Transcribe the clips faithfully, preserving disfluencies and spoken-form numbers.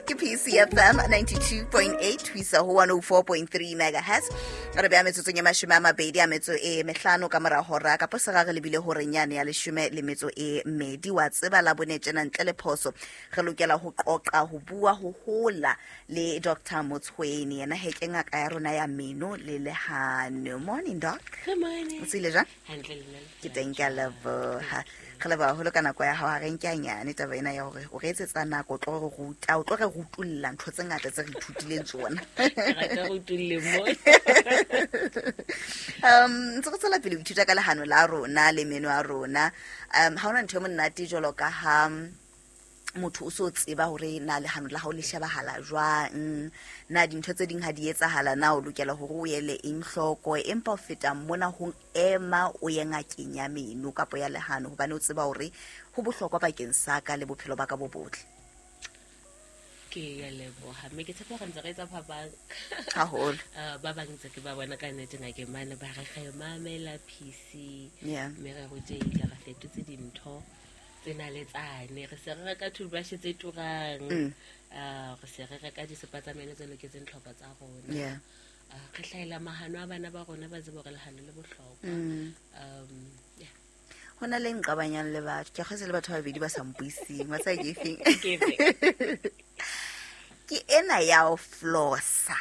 Ke P C F M ninety-two point eight ho isa ho one oh four point three megahertz. Re beha metsotsong e mashome a mabedi a metso e mehlano ka mora hora kapo sera re lebile horeng yane ya leshome le metso e mmedi. Wa tseba la bone tjena ntle le phoso re lokela ho qoqa, ho bua, ho hola le Doctor Motshweni. Yena he ke ngaka ya rona ya meno le lehano. Morning, doc. Good morning. O tsile jwang? Hantle, le nna. Ke teng, ke a leboha. Re leboha haholo ka nako ya hao. Ha re nke hanyane taba ena ya hore o re etsetsa nako, o tlo re ruta, o tlo re rutulla ntho tse ngata tse re ithutileng tsona. Ke rata go tulle mo. um ntse re tswela pele ho ithuta ka lehano la rona le meno a rona. um ha hona ntho e monate jwalo ka ha motho o so tseba hore na lehano la hao le shebahala jwang, na dintho tse ding ha di etsahala, na o lokela hore o ele eng hloko. Empa ho feta mona, ho ema o ye ngakeng ya meno kapo ya lehano hobane o tseba hore ho bohlokwa bakeng sa ka le bophelo ba ka bo botle. Ke ya leboha, mme ke tshepa gore ntse re etsa phapang. Haholo. Uh, ba bang ntse ke ba bona ka nnete ngakeng mane, ba re re mamela P C Yeah. mme re rutehile, re fetotse dintho tsena le tsane, re se re reka toothbrush tse turang, Mm. uh, re se re reka disepa tsa meno tse loketseng tlhoko tsa rona. Yeah. Uh, re hlahela mahano a bana ba rona, ba tsebe hore lehano le bohlokwa. Mm. um yeah. Ho na le nqabanyang le batho, ke kgwetse le batho ba babedi ba sa mpuiseng wa tseba ke efeng? Ke efe? Ke ena ya ho flossa,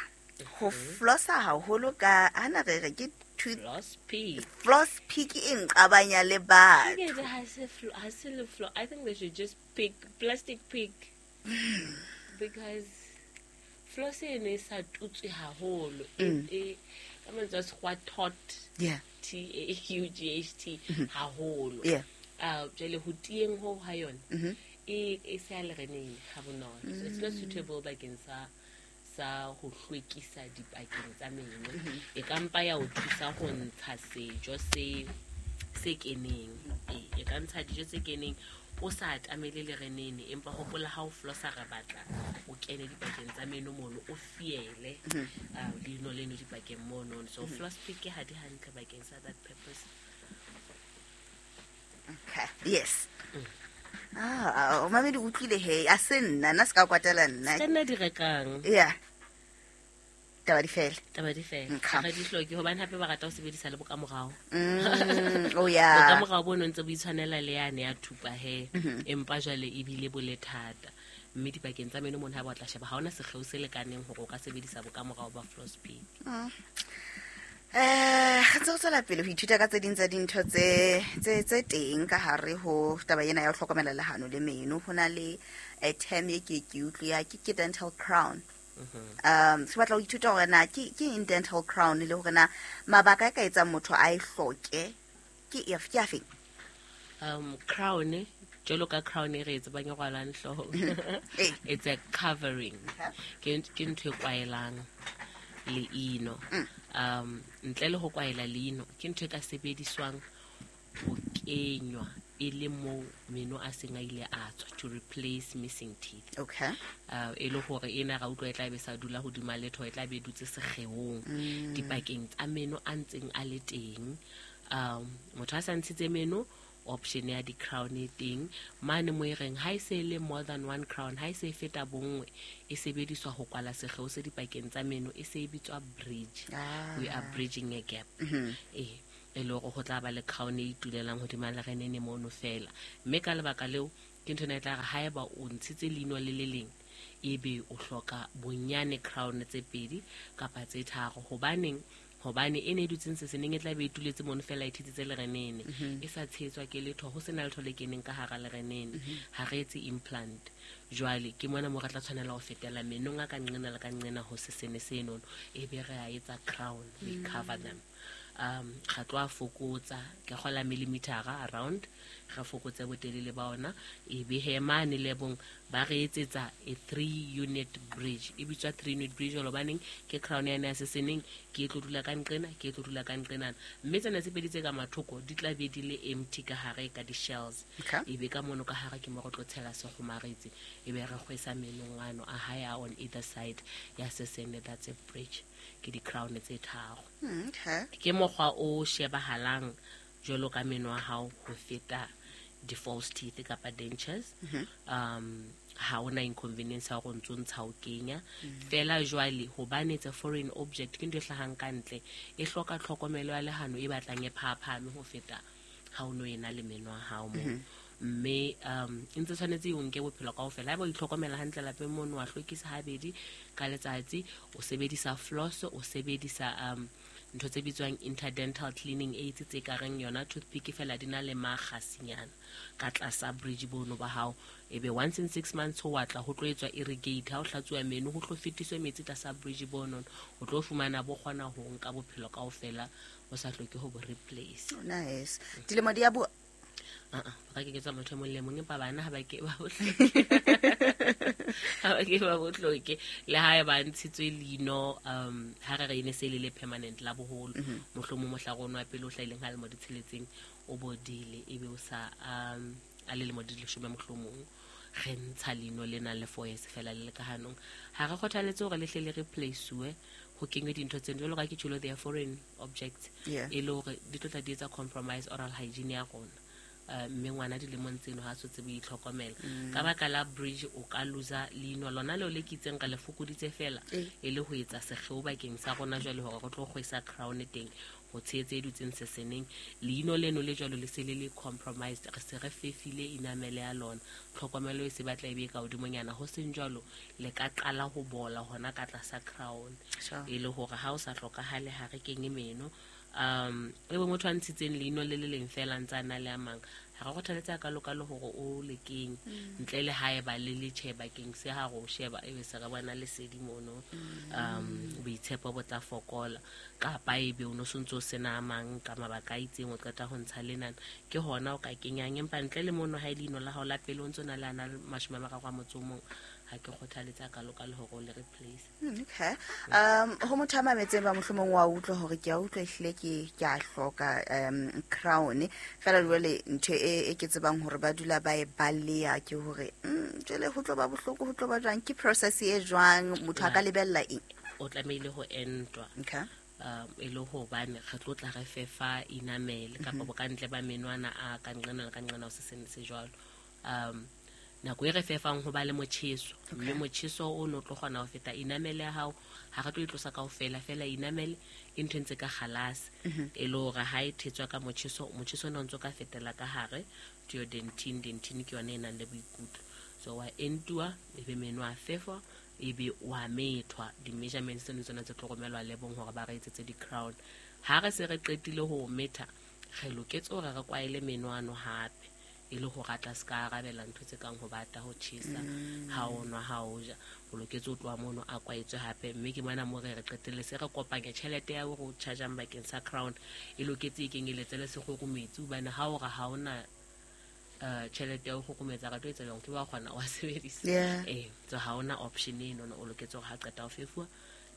ho flossa haholo ka hana re re ke tooth Floss pick. Floss pick e nqabanya le batho. Ke ha se flo- ha se le flo I think they should just pick plastic pick because floss eno e sa tutswe haholo. E Mm. e- ka mantswe a sekgowa, taut, yeah T A U G H T haholo. Yeah uh jwale ho tieng ho ha yona, Mhm. e e se ya lereneng ha bonolo, so it's not suitable bakeng sa sa ho hlwekisa dipakeng tsa meno. E ka mpa ya o thusa ho ntsha sejo se se keneng. Ee, e ka ntsha dijo tse keneng o sa atamele lerenene, empa hopola, ha o flossa re batla o kene dipakeng tsa meno mono, o fiele uh, leino leno dipakeng mono. So floss pick ha di hantle bakeng sa that purpose. Okay, yes. Ah, o mamedi o utlwile he, a se nna, nna se ka kwatela nna. Ka nna di rekang. Yeah, taba di fele. Taba di fela. Okay. Ga di hloke hobane hape ba rata ho sebedisa le bokamorao. mm, oh yeah Bokamorao bono ntse bo itshwanela le yane ya thupa he, empa jwale ebile bo le thata, mme dipakeng tsa meno mono ha ba tla sheba, ha hona sekgeo se lekaneng hore o ka sebedisa bokamorao ba floss pick. eh re ntse re tswela pele ho ithuta ka tse ding tsa dintho tse tse tse teng ka hare ho taba ena ya ho hlokomela lehano le meno. Ho na le eh, term e ke ke utlwe ya ke ke dental crown. um se batla ho ithuta hore na ke ke eng dental crown, le hore na mabaka a ka etsang motho a e hloke ke ef- ke afeng. um crown jwalo ka crown e re e tsebang e rwalang hloohong, Ee. it's a covering. Ke ke ntho e kwaelang leino. um ntle le ho kwaela leino, ke ntho e ka sebediswang ho kenywa e le moo meno a seng a ile a tswa, to replace missing teeth. Okay uh, e le hore ena ra utlwa e tla be sa dula hodima letho, e tla be e dutse sekgeong dipakeng tsa meno a ntseng a le teng. um motho a sa ntshitse meno, option ya di-crown e teng mane mo e reng ha e se e le more than one crown, ha e se e feta bonngwe, e sebediswa ho kwala sekgeo se dipakeng tsa meno, e se e bitswa bridge. Ah. We are bridging a gap. Ee, e le hore ho tla ba le crown e itulelang hodima lerenene mono fela, mme ka lebaka leo ke ntho ena e tla re haeba o ntshitse leino le le leng, ebe o hloka bonyane crown tse pedi kapa tse tharo. Hobaneng? Hobane e ne e dutseng seseneng e tla be e tuletse mono fela, e thetsitse lerenene, e sa tshehetswa ke letho, ho sena letho le keneng ka hara lerenene. Ha re etse implant. Jwale ke mona mo re tla tshwanela ho fetela menong a ka nqena le ka nqena ho sesene senono, e be re a etsa crown, we cover them. um ga tlo a fokotsa ke kgola millimetera around, re fokotse botelele ba ona, e be he mane lebong ba re etsetsa a three unit bridge. E bitswa three unit bridge hobaneng ke crown yane ya seseneng, ke e tlo dula ka nqena, ke e tlo dula ka nqenana, mme tsena tse pedi tse ka mathoko di tla be di le empty ka hare ka di-shells. Okay. E be ka mono ka hare ke mo re tlo tshela sekgomaretsi, e be re kgwesa menong ano a hae a on either side ya sesene. That's a bridge, ke di-crown tse tharo. Mm, okay Ke mokgwa o shebahalang jwalo ka meno a hao ho feta di-false teeth kapa dentures. um Ha ona inconvenience ya hore o ntso ntsha o kenya. Fela jwale hobane it's a foreign object, ke ntho e hlahang ka ntle, e hloka tlhokomelo ya lehano e batlang e phahaphame ho feta ha o no ena le meno a hao moo. Mme um e ntse tshwanetse e o nke bophelo kaofela. Haeba o itlhokomela hantle lapeng mono, wa hlwekisa habedi ka letsatsi, o sebedisa floss, o sebedisa um ntho tse bitswang interdental cleaning aids tse ka reng yona toothpick fela di na le makgasinyana ka tlasa bridge bono ba hao. Ebe once in six months ho wa tla ho tlo etswa irrigate, ha o hlatsuwa meno ho tlo fetiswe metsi tlasa bridge bono, o tlo fumana bo kgona ho nka bophelo kaofela o sa hloke ho bo replace. Nice. Dilemo di ya bo Ah, ah, ba ka kenyetsa motho e mong le mong, empa bana ha ba ke ba bo hloke. Ha ba ke ba bo hloke. Le ha e ba ntshitswe leino, um ha re re e ne se le le permanent la boholo, mohlomong mohla rona wa pele o hlahileng ha lemo di tsheletseng o bodile, ebe o sa um a le lemo di leshome mohlomong, re ntsha leino le nang le four years fela le le ka hanong. Ha re kgothaletse hore le hle le replace-uwe, ho kenywe dintho tseno jwalo ka ke tjholo, they are foreign objects, Yeah. e le hore di tlo tla di etsa compromise oral hygiene ya rona. Uh, mme ngwana dilemong tseno ha so tsebe ho itlhokomela. Ka baka la bridge o ka loser leino lona leo le ke itseng re le fokoditse fela, Eh. e le ho etsa sekgeo bakeng sa rona jwale hore re tlo kgwesa crown teng ho tshehetse e dutseng seseneng. Leino leno le jwalo le se le le compromised, re se re fefile enamel ya lona, tlhokomelo e se batla e be ka hodimonyana. Ho seng jwalo le ka qala ho bola hona ka tlasa crown. Sure. E le hore ha o sa hlokahale ha re kenye meno. Um e bo motho a ntshitseng leino le le leng fela ntse a na le a mang, ha re kgothaletse a kalokalo hore o le kenye, ntle le haeba le le tjhe bakeng se ha re o sheba ebe se re bona lesedi mono, um boitshepo bo tla fokola, kapa ebe o no sontso o sena a mang ka mabaka a itseng o qeta ho ntsha lenana, ke hona o ka kenyang. Empa ntle le mono ha e leino la hao la pele o ntso na le ana le mashome a mararo a motso o mong, ha ke kgothaletse a kalokalo hore o le replace. Mm, okay. Um ho motho a mametseng ba mohlomong wa utlwa hore ke a utlwa ehlile ke ke a hloka um crown, fela jwale ntho e e ke tsebang hore ba dula ba e baleya ke hore mm, jwale ho tlo ba bohloko, ho tlo ba jwang, ke process e jwang, motho a ka lebella eng? O tlamehile ho entwa. Okay. Um e le hobane re tlo tla re fefa enamel kapa bokantle ba menwana a ka nqena le ka nqena ho se sene se jwalo. Um nako e re fefang ho ba le motjheso, mme motjheso o no tlo kgona ho feta enamel ya hao, ha re tlo e tlosa kaofela fela enamel ke ntho e ntse ka kgalase, e le hore ha e thetswa ka motjheso, motjheso ona o ntso ka fetela ka hare to your dentine. Dentine ke yona e nang le boikutlo, so wa entuwa, ebe meno a fefwa, ebe wa methwa. Di-measurements tseno tsona tse tlo romelwa lebong hore ba re etsetse di-crown. Ha re se re qetile ho metha, re loketse hore re kwaele meno ano hape, e le hore a tla se ka arabela ntho tse kang ho bata, ho tjhesa, ha o nwa, ha o ja. O loketse ho tloha mono a kwaetswe hape. Mme ke mona mo re re qetelle se re kopanya tjhelete ya hore o charge-ang bakeng sa crown, e loketse e kenyeletse le sekgokometsi, hobane ha o re ha ona eh tjhelete ya ho kgokgometsa, ka tlo etsa jwang, ke wa kgona wa sebedisa. Yeah. Eh, so ha ona option eno, o loketse hore ha qeta ho fefuwa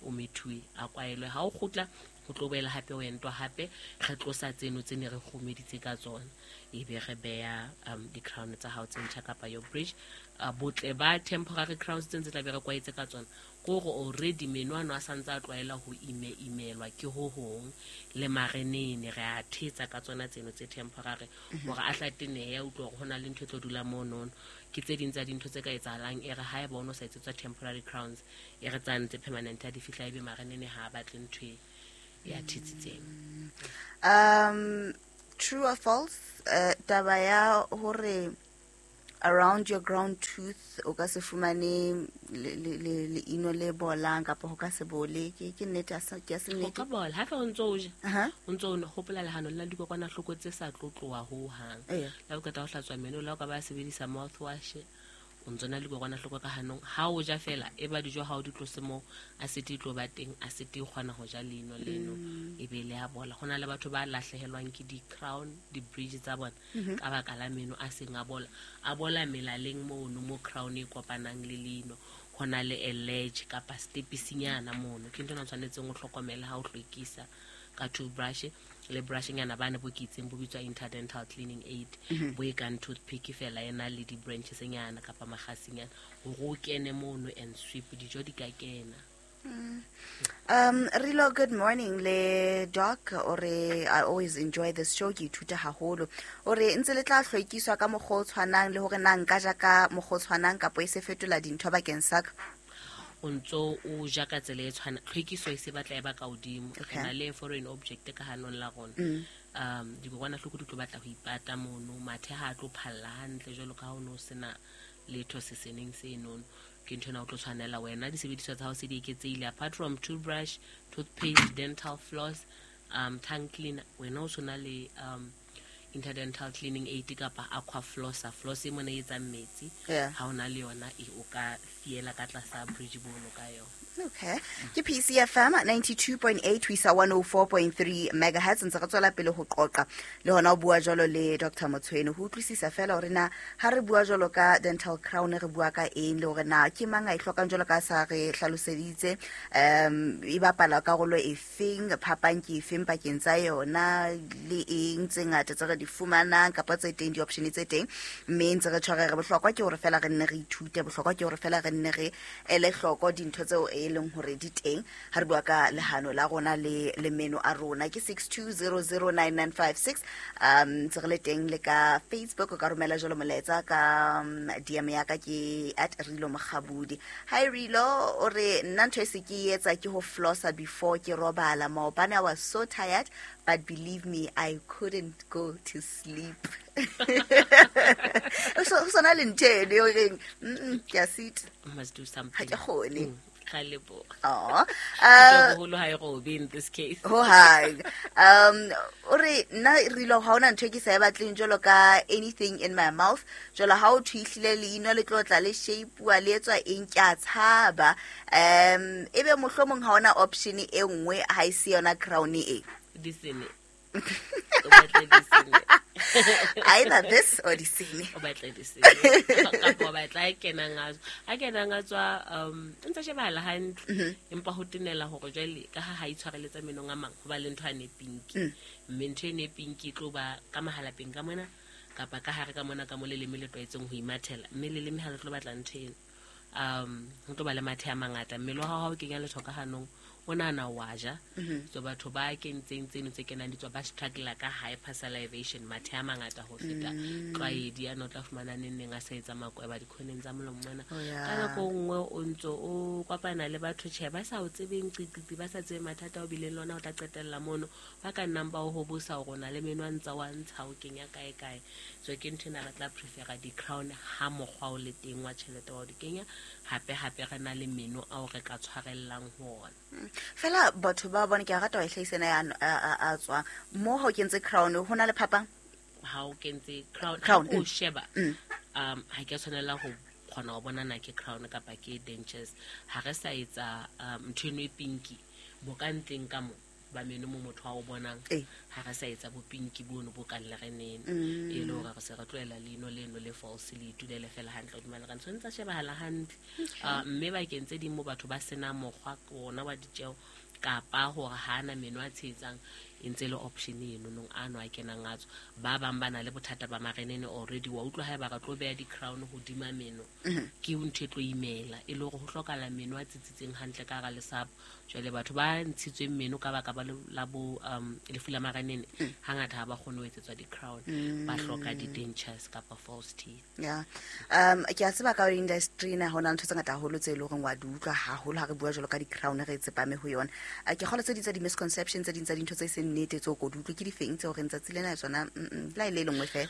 o methuwe, a kwaelwe. Ha o kgutla ho tlo boela hape o entwa hape, re tlosa tseno tse ne re kgomeditse ka tsona, ebe re beha um di-crown tsa hao tse ntjha kapa your bridge. Uh, botle ba temporary crowns tse ntse tla be re kwaetse ka tsona ke hore already meno ano a santse a tlwaela ho ime-imelwa ke ho hong, le marenene re a thetsa ka tsona tseno tse temporary hore a hla tenehe, a utlwe hore ho na le ntho e tlo dula monono. Ke tse ding tsa dintho tse ka etsahalang e re haeba o no sa etsetswa temporary crowns, e re tsane tse permanent ha di fihla ebe marenene ha a batle ntho e ya thetsitseng. Um true or false, uh, taba ya hore around your ground tooth o ka se fumane le le le leino le bolang kapa ho ka se bole, ke ke nnete ha se ke ya se Ho nnete? ka bola ha feela o ntso o ja, Aha. o ntso o hopola lehano le na le dikokwanahloko tse sa tlo tloha hohang. Eya. Le ha o qeta ho hlatswa meno, le ha o ka ba sebedisa mouthwash, o ntso na le dikokwanahloko ka hanong. Ha o ja fela, e ba dijo ha o di tlose moo, acid e tlo ba teng, acid e kgona ho ja leino leno, e be le a bola. Ho na le batho ba lahlehelwang ke di-crown, di-bridge tsa bona ka baka la meno a seng a bola. A bola melaleng mono mo crown e kopanang le leino, ho na le a ledge kapa stepisinyana mono. Ke ntho ena o tshwanetseng o hlokomele ha o hlwekisa ka toothbrush le brushnyana bane bo ke itseng bo bitswa interdental cleaning aid, bo e kang toothpick fela e na le di-branches nyana kapa makgasinyana hore o kene mono and sweep, dijo di ka kena. Um, Rilo, good morning le doc. Ore I always enjoy this show, ke ithuta haholo. Ore ntse le tla hlwekiswa ka mokgwa o tshwanang le hore na nka ja ka mokgwa o tshwanang kapo e se fetola dintho bakeng sa ka? O ntso o ja ka tsela e tshwana, tlhwekiso e se batla e ba ka hodimo. Re Okay. na le foreign object ka hanong la rona. Um dikokwanahloko di tlo batla ho ipata mono, mathe ha a tlo phalla hantle jwalo ka ha o no sena letho seseneng senono. Ke ntho ena o tlo tshwanela wena disebediswa tsa hao se di eketsehile, apart from toothbrush, toothpaste, dental floss, um tongue cleaner, wena o sona le um interdental cleaning aid kapa aqua flosser, floss e mona e etsang metsi. Yeah. Ha o na le yona e o ka fiela ka tlasa bridge bono ka yona. Okay. Ke P C F M ninety-two point eight ho isa one oh four point three megahertz. Ntse re tswela pele ho qoqa le hona ho bua jwalo le Doctor Motshwene ho utlwisisa fela hore na ha re bua jwalo ka dental crown re bua ka eng, le hore na ke mang a e hlokang jwalo ka sa re hlaloseditse, um e bapala karolo e feng, phapang ke efeng pakeng tsa yona le eng tse ngata tse re di fumanang kapa tse teng, di-option tse teng. Mme ntse re tshware re bohlokwa ke hore fela re nne re ithute, bohlokwa ke hore fela re nne re ele hloko dintho tseo e leng hore di teng ha re bua ka lehano la rona le le meno a rona. Ke six two zero zero nine nine five six. Um ntse re le teng le ka Facebook, o ka romela jwalo molaetsa ka, um, D M ya ka ke at Rilo Mokgabudi. Hi Rilo, o re nna ntho e se ke e etsa ke ho flossa before ke robala. Maobane I was so tired, but believe me, I couldn't go to sleep. So, so na le ntho eno e reng, mm, ke a sita. Must do something. Ha ke kgone. Mm. Ka leboha. Aw. Ke Uh, boholo ha e robe in this case. Ho hang. Um, o re nna Rilo ha hona ntho e ke sa e batleng jwalo ka anything in my mouth. Jwalo ha o thwihlile leino le tlo tla le shape-uwa le etswa eng, ke a tshaba. Um, ebe mohlomong ha hona option e nngwe ha e se yona crown e. Disene. O batla disene. Either this or disene. O batla disene. Kapa o batla a kenang a tswa. A kenang a tswa, um, o ntsa shebahala hantle. Mm-hmm. Empa ho tenela hore jwale ka ha ha itshwareletsa menong a mang, ho ba le ntho ane pinki. Mm. Mme ntho ene pinki e tlo ba ka mahalapeng ka mona, kapa ka hare ka mona ka mo leleme le tlwaetseng ho imathela. Mme leleme ha le tlo batla ntho eno. Um, ho tlo ba le mathe a mangata. Mmele wa hao ha o kenya letho ka hanong, o nahana wa ja. Mm-hmm. So batho ba kentseng tseno tse kenang di tswa ba struggle ka hypersalivation, mathe a mangata ho feta Mm. tlwaedi a no tla fumana neng neng a sa etsa makweba dikhoneng tsa molomo mona. Oh, yeah. Ka nako nngwe o ntso o kopana le batho tjhe ba sa o tsebeng qiqiqi, ba sa tsebe mathata o bileng le ona, o tla qetella mono ba ka nnang ba o hobosa hore o na le meno a ntsa wa ntsha o kenya kae kae. So ke ntho ena re tla prefera di-crown ha mokgwa o le teng wa tjhelete wa ho di kenya. Hape hape re na le meno ao re ka tshwarellang ho ona. Mm. Fela batho ba bone ke a rata wa e hlahisa ena ya a, a, a tswang mo ha o kentse crown ho na le phapang? Ha o kentse crown, Crown, ha o mm. sheba, Mm. um, ha ke a tshwanela ho kgona ho bona na ke crown kapa ke dentures. Ha re sa etsa, um, ntho eno e pinki bo ka ntleng ka mo ba meno mo motho a o bonang. Eh. Ha re sa etsa bo pinki bono bo kang lerenene. Mm. E le hore re se re tlohela leino leno le false le itulele fela hantle hodima lerene. So ntse shebahala hantle. Okay. Ah, mme bakeng tse ding mo batho ba sena mokgwa ona wa ditjeo kapa hore ha ana meno a tshehetsang, e ntse e le option eno nong ano a kenang a tswa. Ba bang ba na le bothata ba marenene already, wa utlwa haeba re tlo beha di-crown hodima meno, Mm-hmm. ke ntho e tlo imela, e le hore ho hlokahala meno a tsitsitseng hantle ka hara lesapo. Jwale batho ba ntshitsweng meno ka baka ba le, la bo, um, lefu la marenene, Mm. hangata ha ba kgone ho etsetswa di-crown, ba hloka di-dentures kapa false teeth. Yeah. Um, ke a tseba ka hore industry ena ho na le ntho tse ngata haholo tse e leng horeng wa di utlwa haholo ha re bua jwalo ka di-crown re tsepame ho yona. A ke kgolwa tse ding tsa di-misconception, tse ding tsa dintho tse seng nnete tseo ko di utlwe ke difeng tseo re tsatsi lena tsona, mm, mm, la e le e lengwe fela.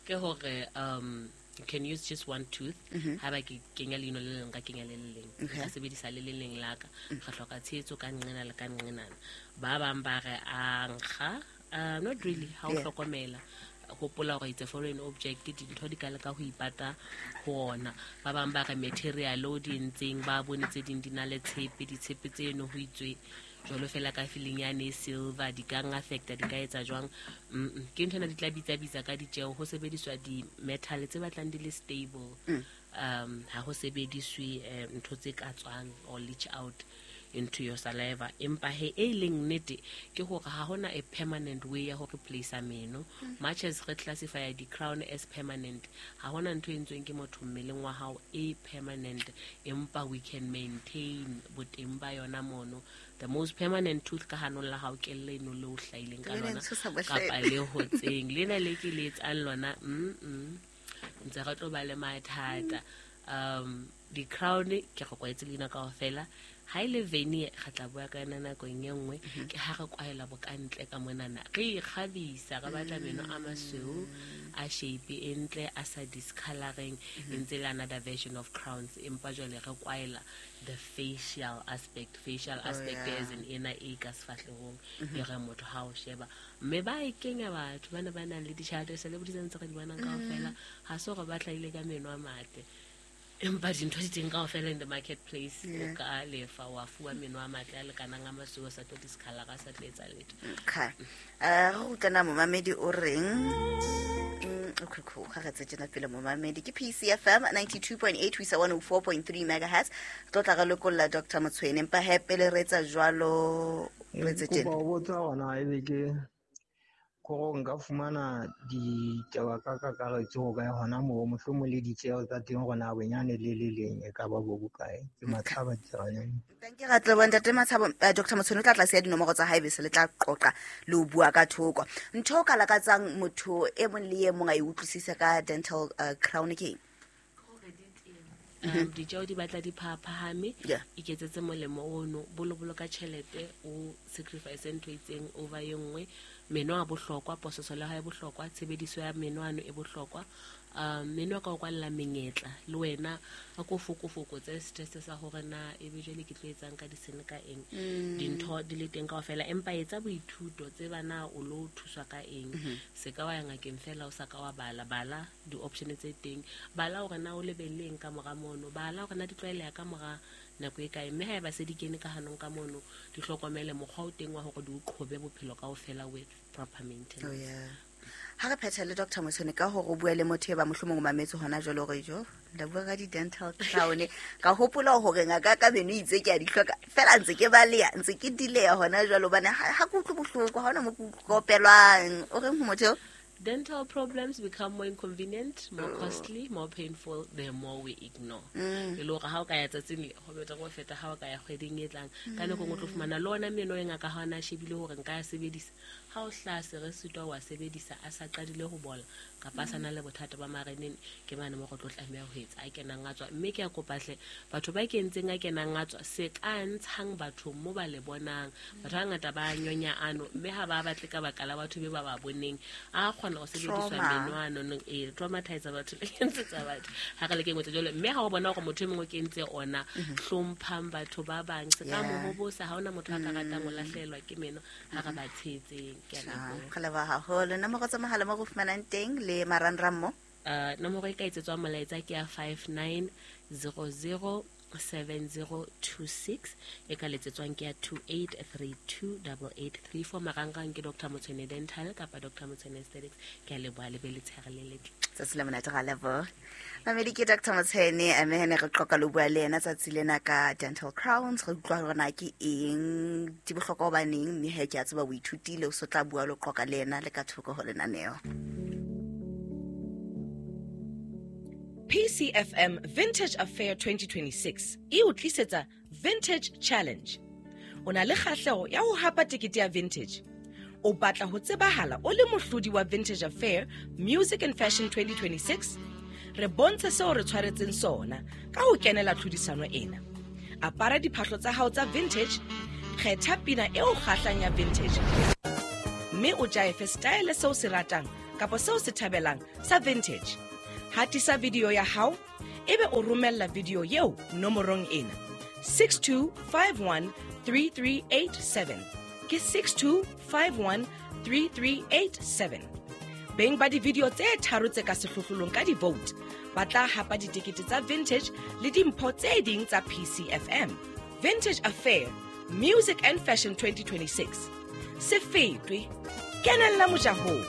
Ke hore, um, you can use just one tooth. Mm-hmm. Ha ba ke kenya leino le leng, ka kenya le le leng. Okay. Nka sebedisa le le leng la ka. Mm. Re hloka tshehetso ka nqena le ka nqenana. Ba bang ba re a nkga, uh, not really, ha o Yeah. hlokomela. Hopola hore it's a foreign object, dintho di ka leka ho ipata ho ona. Ba bang ba re material o di entseng, ba bone tse ding di na le tshepe, ditshepe tseno ho itswe jwalo fela ka feeling yane e silver, di ka affecta, di ka etsa jwang. Mm-mm. Ke ntho ena di tla bitsa-bitsa ka ditjeho, ho sebediswa di-metal tse batlang di le stable. Mm. Um, ha ho sebediswe, eh, ntho tse ka tswang or leach out. into your saliva. Empa he e leng nnete ke hore ha hona a permanent way ya ho replace meno. Much as re classify di crown as permanent, ha hona ntho e entsweng ke motho mmeleng wa hao e permanent, empa we can maintain boteng ba yona mono. The most permanent tooth ka hanong la hao ke leno le o hlahileng ka lona kapa le hotseng lena le ke le etsang lona mm mm ntse re tlo ba le mathata. Um di crown ke re kwaetse leina kaofela. Ha ile veneer re tla bua ka yona nakong e nngwe, ke ha re kwaela bokantle ka monana re ikgabisa, re batla meno a masweu a shape e ntle a sa discoloring, ntse le another version of crowns, empa jwale re kwaela the facial aspect. Facial aspect oh, yeah. as in ena e ka sefahlehong e re motho ha o sheba, mme ba e kenya batho bana ba nang le ditjhelete celebrities ntse re di bonang kaofela, ha se hore ba hlahile ka meno a matle, empa dintho di teng kaofela in the marketplace. O ka lefa wa fuwa meno a matle a lekanang a masweu, a sa tlo discolor, a sa tlo etsa letho. Okay, eh re utlwana momamedi o reng? Okay, cool. Ga re tse tjena pele momamedi ke P C F M ninety-two point eight ho isa one oh four point three megahertz. Tlo tla re lokolla Doctor Motshwene, empa he pele re etsa jwalo re tse tjena. Kopa ho botsa hona ebe ke gore nka fumana ditaba ka kakaretso ho kae hona moo, mohlomong le ditjeho tsa teng hore na bonyane le le leng e ka ba bo bokae. Ke Matshaba Tseraneng. Thank you Ratlebo. Ntate Matshaba, uh, Doctor Motshwene o tla tlase ya dinomoro tsa hae bese le tla qoqa le ho bua ka thoko. Ntho o ka lakatsang motho e mong le e mong a e utlwisise ka dental uh, crown ke eng? Um, ditjeo di batla di phaphahame, Yeah. iketsetse molemo ono, bolobolo ka tjhelete, o sacrifice ntho e itseng over e nngwe. Meno a bohlokwa, pososo le ha e bohlokwa, tshebediso ya meno ano e bohlokwa. Um meno a ka o kwalla menyetla le wena a ko fokofokotse stress sa hore na ebe jwale ke tlo etsang ka disene ka eng, dintho di le teng kaofela, empa etsa boithuto tseba na o lo thuswa ka eng. Se ka wa ya ngakeng fela o sa ka wa bala, bala di-option tse teng, bala hore na o lebelleng ka mora mono, bala hore na di tlwaeleha ka mora nako e kae, mme haeba se di kene ka hanong ka mono, di hlokomele mokgwa o teng wa hore di o qhobe bophelo kaofela with proper maintenance. Oh, yeah. Ha re phetha le Doctor Motshwene ka hore o bua le motho e ba mohlomong o mametse hona jwale hore jo la bua ka di-dental crown, ka hopola hore ngaka ka meno itse ke a di hloka fela ntse ke baleha, ntse ke dileha hona jwale hobane ha ha ke utlwe bohloko, ha hona mo ke utlwa o reng ho motho eo? Dental problems become more inconvenient, more costly, more painful the more we ignore. E le hore ha o ka ya tsatsing le ho betere ho feta ha o ka ya kgweding e tlang. Ka nako e nngwe o tlo fumana le ona meno e ngaka ha ona a shebile hore nka ya sebedisa. Ha o hlaha se re sitwa wa sebedisa a sa qadile ho bola kapa a sa na le bothata ba mareneng, ke mane mo go tlo tlameha ho etsa a kenang a tswa. Mme ke a kopa hle batho ba kentseng a kenang a tswa, se ka ntshang batho mo ba le bonang. Batho ba bangata ba nyonya ano, mme ha ba batle ka baka la batho be ba ba boneng. A kgona ho sebediswa Trauma. meno ano no, e traumatize batho le kentsetsa batho ha re le kengwe tse jwalo. Mme ha o bona hore motho e mongwe o kentse ona, hlomphang batho ba bang, se ka Yeah. mo hobosa. Ha hona motho a ka ratang ho lahlehelwa ke meno ha re ba tshehetseng. Ke a leboha. Re leboha haholo. Nomoro tsa mohala mo re fumanang teng le marangrang mo? Uh, nomoro e ka etsetswang molaetsa ke ya five nine zero zero seven zero two six, e ka letsetswang ke ya two eight three two double eight three four. Marangrang ke Doctor Motshwene Dental kapa Doctor Motshwene Aesthetics. Ke a leboha, le be letshehare le letle. Tsatsi le monate, ra leboha. Mamedi ke Doctor Motshwene, mme he ne re qoqa le ho bua le yena tsatsi lena ka dental crowns. Re utlwa hore na ke eng, di bohlokwa hobaneng, mme he ke a tseba o ithutile, o so tla bua le ho qoqa le yena le ka thoko ho lenaneo. P C F M Vintage Affair twenty twenty-six e o tlisetsa Vintage Challenge. O na le kgahleho ya ho hapa tekete ya Vintage. O batla ho tsebahala o le mohlodi wa Vintage Affair Music and Fashion twenty twenty-six? Re bontshe seo re tshwaretseng sona ka ho kenela tlhodisano ena. Apara diphahlo tsa hao tsa vintage, kgetha pina e o kgahlang ya vintage, mme o jaefe style seo se ratang kapa seo se thabelang sa vintage. Hatisa video ya hao, ebe o romella video eo nomorong ena six two five one three three eight seven. Ke six two five one three three eight seven. Beng ba di-video tse tharo tse ka sehlohlolong ka di-vote ba tla hapa ditekete tsa vintage le dimpho tse ding tsa P C F M. Vintage Affair Music and Fashion twenty twenty-six. Se fetwe, kenella mojahong.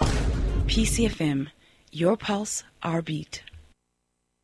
P C F M, your pulse, our beat.